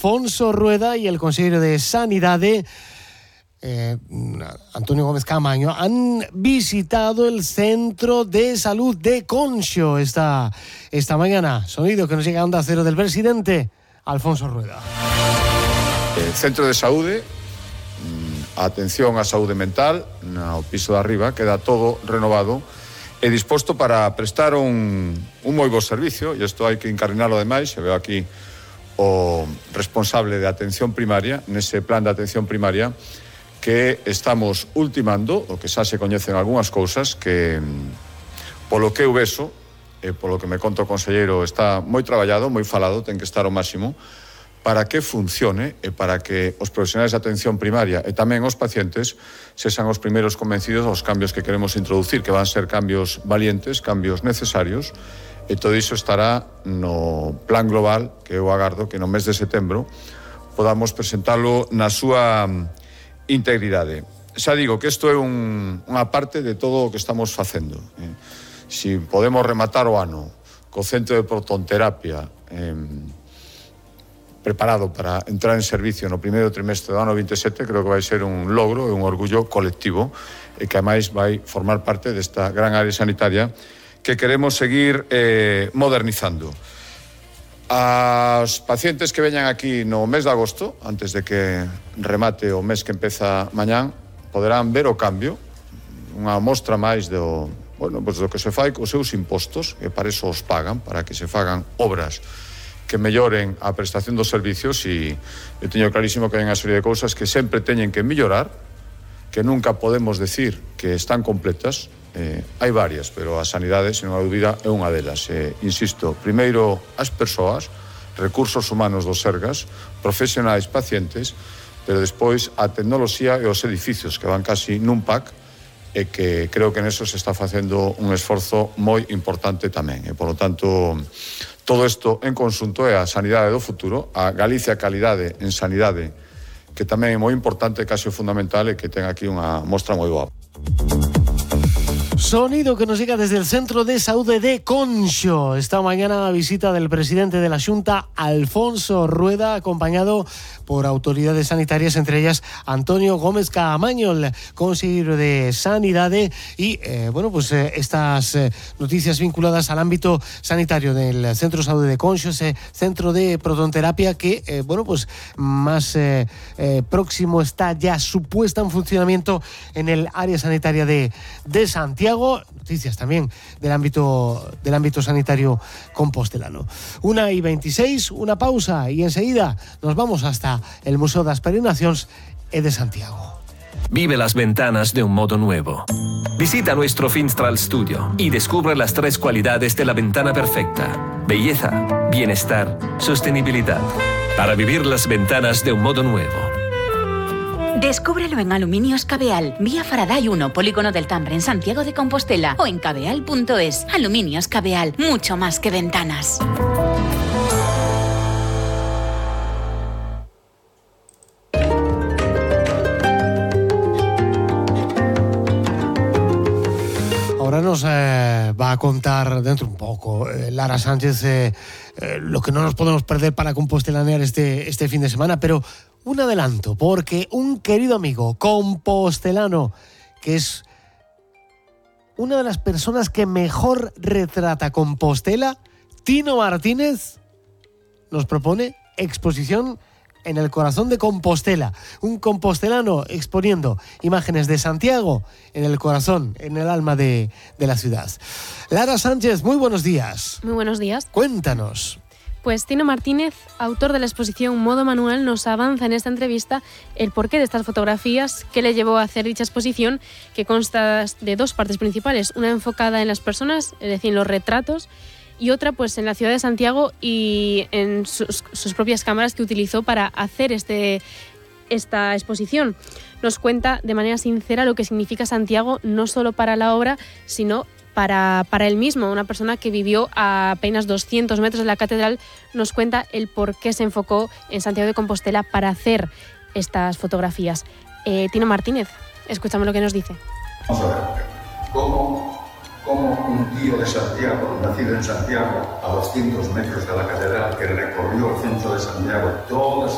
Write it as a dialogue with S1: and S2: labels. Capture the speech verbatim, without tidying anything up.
S1: Alfonso Rueda y el consejero de Sanidade, eh, Antonio Gómez Caamaño, han visitado el Centro de Salud de Conxo esta, esta mañana. Sonido que nos llega a Onda Cero del presidente Alfonso Rueda.
S2: El Centro de Saúde, a atención á saúde mental, no piso de arriba, queda todo renovado e disposto para prestar un, un moi bo servicio, e isto hai que encarnalo ademais, se veo aquí o responsable de atención primaria, nese plan de atención primaria, que estamos ultimando, o que xa se coñecen algunhas cousas, que polo que eu veso, e polo que me conta o conselleiro, está moi traballado, moi falado, ten que estar ao máximo, para que funcione e para que os profesionais de atención primaria e tamén os pacientes sexan os primeiros convencidos dos cambios que queremos introducir, que van ser cambios valientes, cambios necesarios, e todo iso estará no plan global que eu agardo que no mes de setembro podamos presentalo na súa integridade. Xa digo que isto é un, unha parte de todo o que estamos facendo. Eh, si podemos rematar o ano co centro de protonterapia eh, preparado para entrar en servicio no primeiro trimestre do ano vinte e sete, creo que vai ser un logro e un orgullo colectivo e que ademais vai formar parte desta gran área sanitaria que queremos seguir eh, modernizando. As pacientes que veñan aquí no mes de agosto, antes de que remate o mes que empeza mañán, poderán ver o cambio, unha mostra máis do, bueno, pues do que se fai cos seus impostos, e para iso os pagan, para que se fagan obras que melloren a prestación dos servicios, e eu teño clarísimo que hai unha serie de cousas que sempre teñen que mellorar, que nunca podemos decir que están completas. Eh, hai varias, pero a sanidade, sen unha dúbida, é unha delas. Eh, insisto, primeiro as persoas, recursos humanos dos Sergas, profesionais, pacientes, pero despois a tecnoloxía e os edificios que van casi nun pack, e que creo que neso se está facendo un esforzo moi importante tamén. E, polo tanto, todo isto en conxunto é a sanidade do futuro, a Galicia calidade en sanidade, que tamén é moi importante, casi fundamental, e que ten aquí unha mostra moi boa.
S1: Sonido que nos llega desde el Centro de Saúde de Conxo. Esta mañana la visita del presidente de la Xunta, Alfonso Rueda, acompañado por autoridades sanitarias, entre ellas Antonio Gómez Caamaño, el consejero de Sanidade, y eh, bueno, pues eh, estas eh, noticias vinculadas al ámbito sanitario del Centro de Saúde de Conxo, ese centro de protonterapia que, eh, bueno, pues más eh, eh, próximo está ya su puesta en funcionamiento en el área sanitaria de, de Santiago. Noticias también del ámbito del ámbito sanitario compostelano. Una y veintiséis, una pausa y enseguida nos vamos hasta el Museo das Peregrinacións e de Santiago.
S3: Vive las ventanas de un modo nuevo. Visita nuestro Finstral Studio y descubre las tres cualidades de la ventana perfecta: belleza, bienestar, sostenibilidad. Para vivir las ventanas de un modo nuevo.
S4: Descúbrelo en Aluminios Cabeal, vía Faraday uno, Polígono del Tambre, en Santiago de Compostela, o en cabeal punto es. Aluminios Cabeal, mucho más que ventanas.
S1: Ahora nos eh, va a contar dentro un poco eh, Lara Sánchez eh, eh, lo que no nos podemos perder para compostelanear este, este fin de semana, pero un adelanto, porque un querido amigo compostelano, que es una de las personas que mejor retrata Compostela, Tino Martínez, nos propone exposición en el corazón de Compostela. Un compostelano exponiendo imágenes de Santiago en el corazón, en el alma de, de la ciudad. Lara Sánchez, muy buenos días.
S5: Muy buenos días.
S1: Cuéntanos.
S5: Pues Tino Martínez, autor de la exposición Modo Manual, nos avanza en esta entrevista el porqué de estas fotografías, qué le llevó a hacer dicha exposición, que consta de dos partes principales, una enfocada en las personas, es decir, en los retratos, y otra pues en la ciudad de Santiago y en sus, sus propias cámaras que utilizó para hacer este, esta exposición. Nos cuenta de manera sincera lo que significa Santiago, no solo para la obra, sino Para, para él mismo, una persona que vivió a apenas doscientos metros de la catedral. Nos cuenta el por qué se enfocó en Santiago de Compostela para hacer estas fotografías. Eh, Tino Martínez, escuchamos lo que nos dice.
S6: Vamos a ver, ¿cómo, cómo un tío de Santiago, nacido en Santiago, a doscientos metros de la catedral, que recorrió el centro de Santiago, todas